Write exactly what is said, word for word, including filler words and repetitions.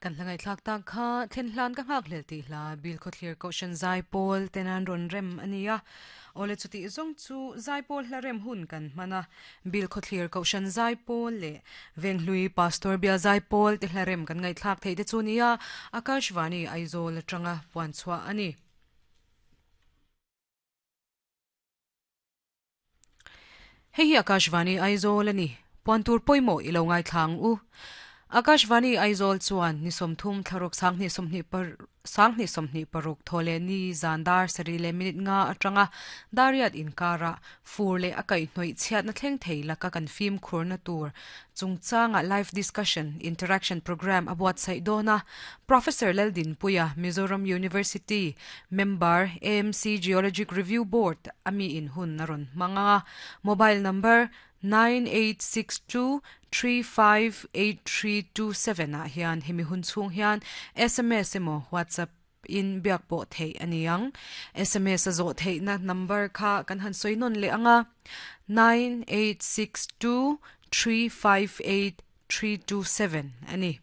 Kan hlangai thlak tak kha thlen hlan ka nghak hlel ti hla bil kho thlir ko shan zai pawl tenan ron rem ania ole chuti zong chu zai pawl hla rem hun kan mana bil kho thlir ko shan zai pawl le venghlui pastor bia zai pawl te hla rem kan ngai thlak thei te chu nia Akashvani Aizawl atanga puan chua ani. Hei hi Akashvani Aizawl ani puan tur poimo ilo ngai thlang u. Akashvani Aizawl chuan ni somthum thlaruk sangni somni par sangni somni paruk thole ni zandar sarile minute nga atanga dariat inkara furle akai hnoi chhiat na thleng thei laka kan film khurna tur chungchanga live discussion interaction program abuat sai dona Professor Leldin Puya Mizoram University member A M C Geologic Review Board ami in hun naron manga mobile number nine eight six two three five eight three two seven a hian hemi hun chung hian S M S emo WhatsApp in biak po thei aniang S M S a zo thei na number kha kan han soinon le anga nine eight six two three five eight three two seven ani.